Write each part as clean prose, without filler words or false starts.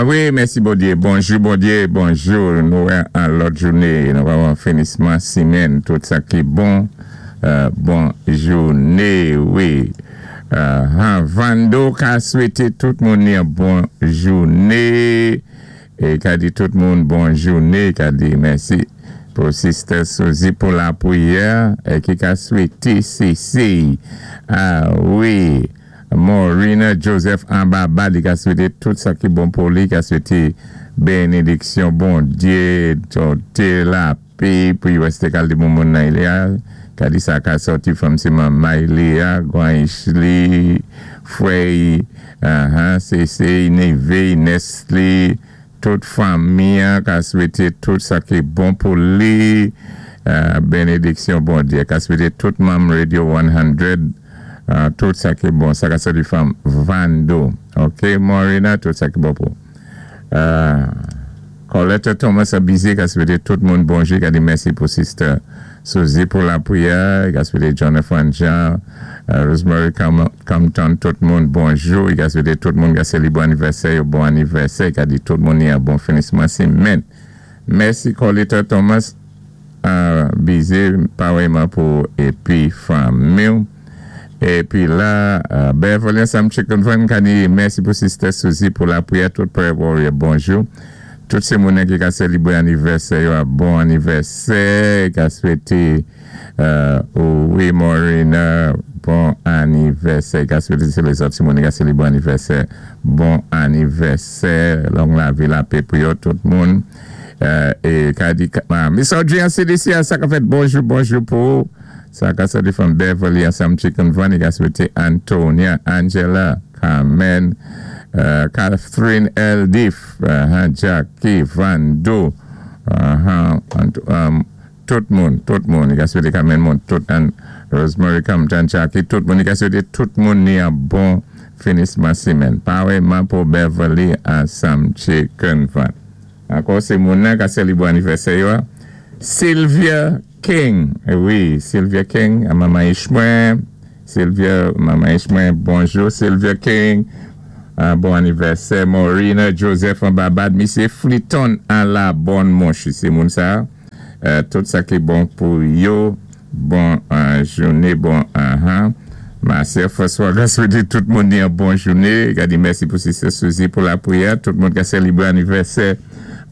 A wi, mèsi Bondyé. Bonjou Bondyé, bonjou. Nou wè an lòt jouné, nou wè an finisman simèn. Tout sa ki bon, bon jouné wi. Vando ka swété tout moun yon bon jouné. É ka di tout moun bon jouné, ka di mèsi pou Sister Suzy pou lapriyè é ki ka swété Sesey. A wi. Morina Joseph anba ba li ka swete tout sa ki bon pou li ka swete benediksyon Bondye tote lape pou us te kal di moun moun nan li a ka di sa ka sòti fanm se manmay li a gwanch li frèy ahan sesey nevey nès li. Tout fanmi an ka swete tout sa ki bon pou li benediksyon Bondye ka swete tout manm radio 100 tout sa ki bon sa ka soti fanm Vando ok Morina tout sa ki bon pou Colette Thomas Abize ka swete tout moun bonjou ka di mèsi pou sister Suzy pou lapriyè ka swete Jonathan Jean Rosemary Compton tout moun bonjou i ka swete tout moun ka selebre anivèsè yo bon anivèsè i ka di tout moun yon bon finisman semèn mèsi Colita Thomas bize parèyman pou ou epi fanmiw epi la Beverly ansanm Chicken Van ka di mèsi pou sister Suzy pou lapriyè tout prayer warrior bonjou tout se moun ki ka selebre anivèsè yo a bon anivèsè i ka swete. Wi Morena bon anivèsè ka swete se lèzòt timoun ka selebre anivèsè bon anivèsè long lavi lapè pou yo tout moun e ka di Miss Audrey an CDC a sa ka fèt bonjou bonjou pou ou sa ka sòti from Beverly ansanm Chicken Van ka swete Antonia Angela Carmen Catherine Eldif Jackie Vando Tout moun, tout moun, li ka swete Carmen Mont, tout Ann Rosemary Compton, Jackie, tout moun, li ka swete tout moun ni yon bon finisman simèn. Parèyman pou Beverly ansanm Chicken Van. Ankò se moun nan ka selebre anivèsè yo a, Sylvia King, wi, Sylvia King, manman Ishmwen, Sylvia, manman Ishmwen, bonjou Sylvia King, bon anivèsè Morina Joseph an Babad, misye Fliton an la bonne mouche, se moun sa a. Tout sa ki bon pou yo bon joune bon ahan ma sè François ka swete tout moun yon bon joune ka di mèsi pou sister Suzy pou lapriyè tout moun ka selebre anivèsè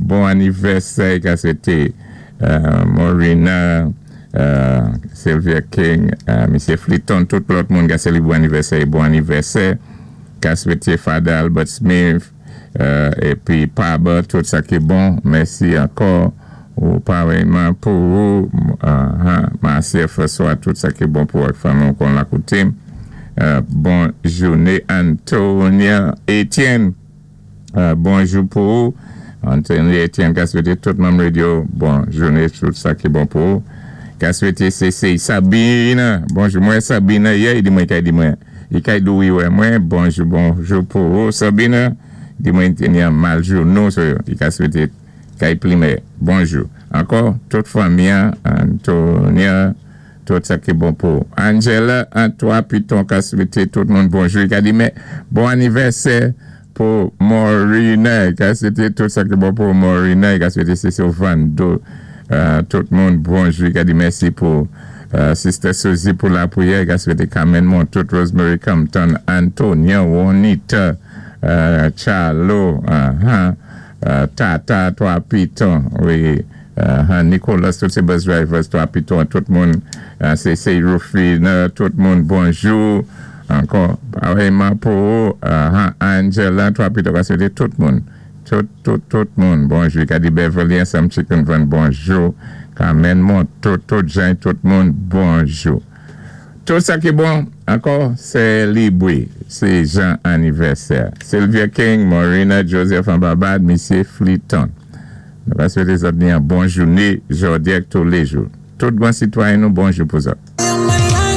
bon anivèsè ka swete Morina Sylvia King misye Fliton tout lòt moun ka selebre anivèsè bon anivèsè ka swete Father Albert Smith. Epi paba tout sa ki bon mèsi ankò ou parèyman pou ou ma sè François tout sa ki bon pou ou ak fanmi w kon la koutim bon joune Antonia Etienne bonjou pou ou Antonia Etienne ka swete tout manm radio bon joune tout sa ki bon pou ou ka swete se Sabine bonjou mwen Sabine yè di mwen kay di mwen. Li kay dou wi wè mwen. Bonjou bonjou pou ou Sabine di mwen te ni an mal jounou so li ka swete kay plimè bonjou ankò tout fanmi an Antonia tout sa ki bon pou Angela an 3 piton ka swete tout moun bonjou li ka di men bon anivèsè pou Morina ka swete tout sa ki bon pou Morina ka swete se sou Vando tout moun bonjou ka di mèsi pou Sister Suzy pou lapriyè ka swete Carmen Montout Rosemary Compton Antonia Juanita Charlo Tata 3 piton wi Nicolas tout se bus drivers 3 piton tout moun se se Rufina tout moun bonjou. Ankò parèyman pou ou Angela 3 pito ka swete tout moun tout tout tout moun bonjou ka di Beverly ansanm chicken van bonjou Carmen Monto tout jan tout moun bonjou tout sa ki bon ankò se libri se jan anivèsè Sylvia King Morina Joseph anbabad misye Fliton nou ka swete zòt ni yon bon joune jòdi ak toulejou tout gwan sitwayen nou bonjou pou zòt.